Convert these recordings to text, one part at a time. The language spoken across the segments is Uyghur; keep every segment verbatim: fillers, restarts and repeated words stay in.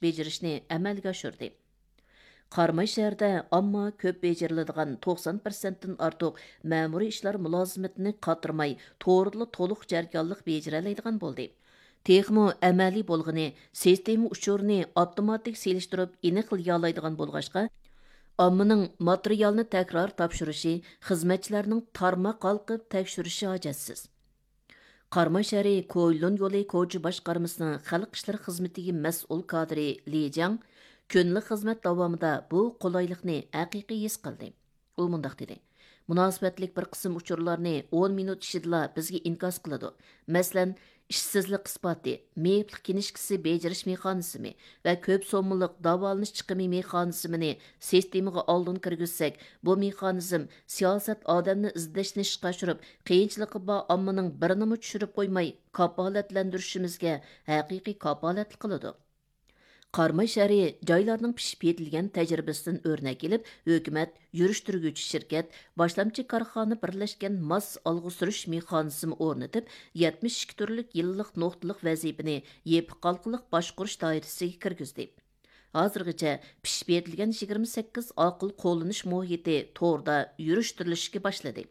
بېجىرىشنى ئەمەلگە ئاشۇردى. قاراماي شەھىرىدە ئامما كۆپ بېجىرىلىدىغان توقسان پىرسەنتتىن ئارتۇق مەمۇرىي ئىشلار مۇلازىمىتىنى قاترىماي، توردا تولۇق جەريانلىق بېجىرەلەيدىغان بولدى. تېخىمۇ ئەمەلىي بولغىنى، سىستېما ئۇچۇرىنى ئاپتوماتىك سېلىشتۇرۇپ ئېنىقلىيالايدىغان بولغاچقا، ئاممىنىڭ ماتېرىيالنى تەكرار تاپشۇرۇشى، خىزمەتچىلەرنىڭ تارماق ھالقىپ تەكشۈرۈشى ھاجەتسىز. قاراماي شەھىرى كويلۇن يولى كوچا باشقارمىسىنىڭ خەلق ئىشلىرى خىزمىتىگە مەسئۇل كادىرى لى جياڭ كۈندىلىك خىزمەت داۋامىدا بۇ قولايلىقنى ھەقىقىي ھېس قىلدى. ئۇ مۇنداق دېدى: مۇناسىۋەتلىك بىر قىسىم ئۇچۇرلارنى ئون مىنۇت ئىچىدىلا بىزگە ئىنكاس قىلىدۇ. مەسىلەن، ئىشسىزلىق ئىسپاتى، مېيىپلىق كىنىشكىسى بېجىرىش مېخانىزمى ۋە كۆپ سوممىلىق داۋالىنىش چىقىمى مېخانىزمىنى سىستېمىغا ئالدىن كىرگۈزسەك، بۇ مېخانىزم سىياسەت ئادەمنى ئىزدەشنى ئىشقا ئاشۇرۇپ، قىيىنچىلىقى بار ئاممىنىڭ بىرىنىمۇ چۈشۈرۈپ قويماي، كاپالەتلەندۈرۈشىمىزگە ھەقىقىي كاپالەتلىك قىلىدۇ. قاراماي شەھىرى جايلارنىڭ پىشىپ يېتىلگەن تەجرىبىسىدىن ئۆرنەك ئېلىپ، ھۆكۈمەت، يۈرۈشتۈرگۈچى شىركەت، باشلامچى كارخانا بىرلەشكەن ماس ئالغا سۈرۈش مېخانىزمى ئورنىتىپ، يەتمىش ئىككى تۈرلۈك يىللىق نۇقتىلىق ۋەزىپىنى يېپىق ھالقىلىق باشقۇرۇش دائىرىسىگە كىرگۈزدى. ھازىرغىچە پىشىپ يېتىلگەن يىگىرمە سەككىز ئاقىل قوللىنىش مۇھىتى توردا يۈرۈشتۈرۈلۈشكە باشلىدى.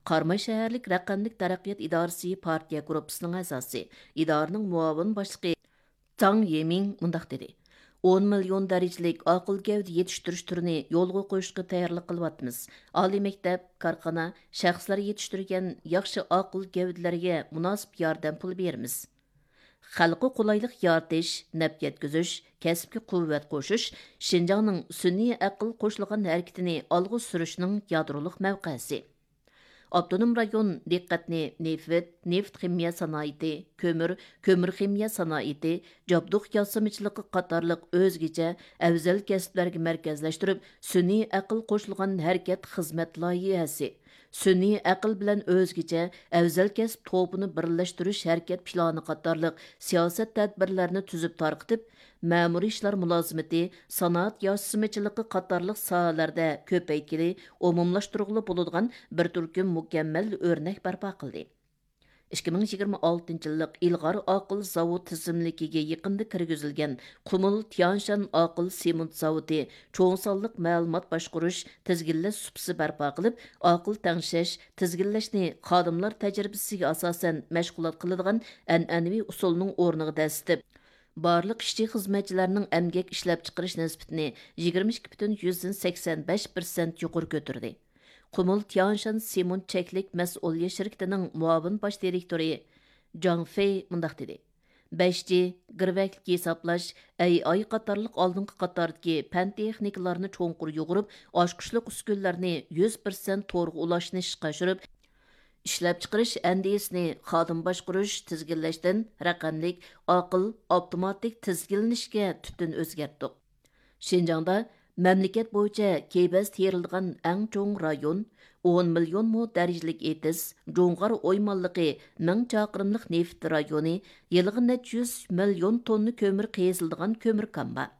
قاراماي شەھەرلىك رەقەملىك تەرەققىيات ئىدارىسى پارتىيە گۇرۇپپىسىنىڭ ئەزاسى، ئىدارىنىڭ مۇئاۋىن باشلىقى جاڭ يېمىڭ مۇنداق دېدى: ئون مىليون دەرىجىلىك ئاقىل گەۋدە يېتىشتۈرۈش تۈرىنى يولغا قويۇشقا تەييارلىق قىلىۋاتىمىز. ئالىي مەكتەپ، كارخانا، شەخسلەر يېتىشتۈرگەن ياخشى ئاقىل گەۋدىلەرگە مۇناسىپ ياردەم پۇلى بېرىمىز. خەلققە قولايلىق يارىتىش، نەپ يەتكۈزۈش، كەسىپكە قۇۋۋەت قوشۇش شىنجاڭنىڭ سۈنئىي ئەقىل قوشۇلغان ھەرىكىتىنى ئالغا سۈرۈشنىڭ يادرولۇق مەۋقەسى. ئاپتونوم رايون دىققەتنى نېفىت، نېفىت خىمىيە سانائىتى، كۆمۈر، كۆمۈر خىمىيە سانائىتى، جابدۇق ياسىمىچىلىقى قاتارلىق ئۆزگىچە ئەۋزەل كەسىپلەرگە مەركەزلەشتۈرۈپ، سۈنئىي ئەقىل قوشۇلغان ھەرىكەت خىزمەت لايىھەسى، سۈنئىي ئەقىل بىلەن ئۆزگىچە ئەۋزەل كەسىپ توپىنى بىرلەشتۈرۈش ھەرىكەت پىلانى قاتارلىق سىياسەت تەدبىرلەرنى تۈزۈپ تارقىتىپ، مەمۇرىي ئىشلار مۇلازىمىتى، سانائەت ياسىمىچىلىقى قاتارلىق ساھەلەردە كۆپەيتكىلى، ئومۇملاشتۇرغىلى بولىدىغان بىر تۈركۈم مۇكەممەل ئۆرنەك بەرپا قىلدى. ئىككى مىڭ يىگىرمە ئالتىنچى يىللىق ئىلغار ئاقىل زاۋۇت تىزىملىكىگە يېقىندا كىرگۈزۈلگەن قۇمۇل تيانشان ئاقىل سېمونت زاۋۇتى چوڭ سانلىق مەلۇمات باشقۇرۇش، تىزگىنلەش سۇپىسى بەرپا قىلىپ، ئاقىل تەڭشەش، تىزگىنلەشنى خادىملار تەجرىبىسىگە ئاساسەن مەشغۇلات قىلىدىغان ئەنئەنىۋى ئۇسۇلنىڭ ئورنىغا دەسسىتىپ، بارلىق ئىشچى-خىزمەتچىلەرنىڭ ئەمگەك ئىشلەپچىقىرىش نىسبىتىنى يىگىرمە ئىككى پۈتۈن يۈزدىن سەكسەن بەش پىرسەنت يۇقىرى كۆتۈردى. قۇمۇل تيانشان سېمونت چەكلىك مەسئۇلىيەت شىركىتىنىڭ مۇئاۋىن باش دىرېكتورى جاڭ فېي مۇنداق دېدى: بەش جى، گىرۋەكلىك ھېسابلاش، ئەي ئاي قاتارلىق ئالدىنقى قاتاردىكى پەن تېخنىكىلارنى چوڭقۇر يۇغۇرۇپ، ئاچقۇچلۇق ئۈسكۈنىلەرنى يۈز پىرسەنت تورغا ئۇلاشنى ئىشقا ئاشۇرۇپ، ئىشلەپچىقىرىش ئەندىزىسىنى خادىم باشقۇرۇش، تىزگىنلەشتىن رەقەملىك، ئاقىل، ئاپتوماتىك تىزگىنلىنىشكە تۈپتىن ئۆزگەرتتۇق. شىنجاڭدا مەملىكەت بويىچە كېۋەز تېرىلىدىغان ئەڭ چوڭ رايون، ئون مىليون مو دەرىجىلىك ئېتىز، جۇڭغار ئويمانلىقى، مىڭ چاقىرىملىق نېفىت رايونى، يىلىغا نەچچە يۈز مىليون توننا كۆمۈر قېزىلىدىغان كۆمۈر كان بار.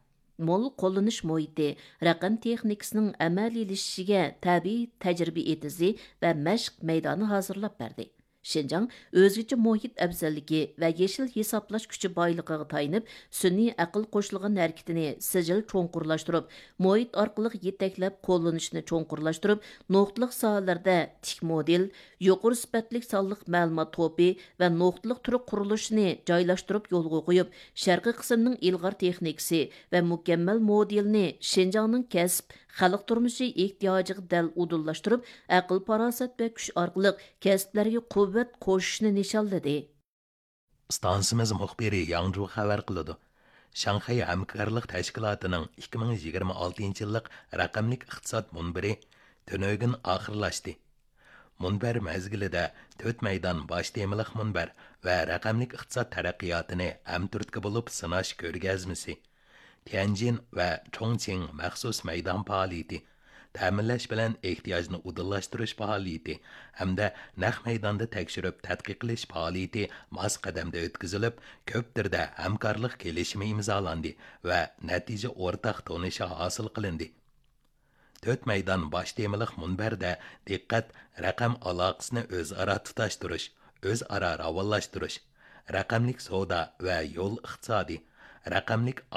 مول قوللىنىش مۇھىتى، رەقەم تېخنىكىسىنىڭ ئەمەلىيلىشىشىگە تەبىئىي تەجرىبە ئېتىزى ۋە مەشىق مەيدانى ھازىرلاپ بەردى. شىنجاڭ ئۆزگىچە مۇھىت ئەۋزەللىكى ۋە يېشىل ھېسابلاش كۈچى بايلىقىغا تايىنىپ، سۈنئىي ئەقىل قوشۇلغان ھەرىكىتىنى سىجىل چوڭقۇرلاشتۇرۇپ، مۇھىت ئارقىلىق يېتەكلەپ قوللىنىشنى چوڭقۇرلاشتۇرۇپ، نۇقتىلىق ساھەلەردە تىك مودېل، يۇقىرى سۈپەتلىك سانلىق مەلۇمات توپى ۋە نۇقتىلىق تۈر قۇرۇلۇشىنى جايلاشتۇرۇپ يولغا قويۇپ، شەرقىي قىسىمنىڭ ئىلغار تېخنىكىسى ۋە مۇكەممەل مودېلىنى شىنجاڭنىڭ كەسىپ، خەلق تۇرمۇشى ئېھتىياجىغا دەل ئۇدۇللاشتۇرۇپ، ئەقىل-پاراسەت ۋە كۈچ ئارقىلىق كەسىپلەرگە قۇۋۋەت قوشۇشنى نىشانلىدى. ئىستانسىمىز مۇخبىرى ياڭجۇ خەۋەر قىلىدۇ. شاڭخەي ھەمكارلىق تەشكىلاتىنىڭ ئىككى مىڭ يىگىرمە ئالتىنچى يىللىق رەقەملىك ئىقتىساد مۇنبىرى تۈنۈگۈن ئاخىرلاشتى. مۇنبەر مەزگىلىدە تۆت مەيدان باش تېمىلىق مۇنبەر ۋە رەقەملىك ئىقتىساد تەرەققىياتىنى ھەمتۈرتكە بولۇپ سىناش كۆرگەزمىسى، تيەنجىن ۋە چۇڭچىڭ مەخسۇس مەيدان پائالىيىتى، تەمىنلەش بىلەن ئېھتىياجنى ئۇدۇللاشتۇرۇش پائالىيىتى ھەمدە نەق مەيداندا تەكشۈرۈپ تەتقىق قىلىش پائالىيىتى ماس قەدەمدە ئۆتكۈزۈلۈپ، كۆپ تۈردە ھەمكارلىق كېلىشىمى ئىمزالاندى ۋە نەتىجە ئورتاق تونۇشى ھاسىل قىلىندى. تۆت مەيدان باش تېمىلىق مۇنبەردە دىققەت رەقەم ئالاقىسىنى ئۆزئارا تۇتاشتۇرۇش، ئۆزئارا راۋانلاشتۇرۇش، رەقەملىك سودا ۋە يول ئىقتىسادى، رەقەملىك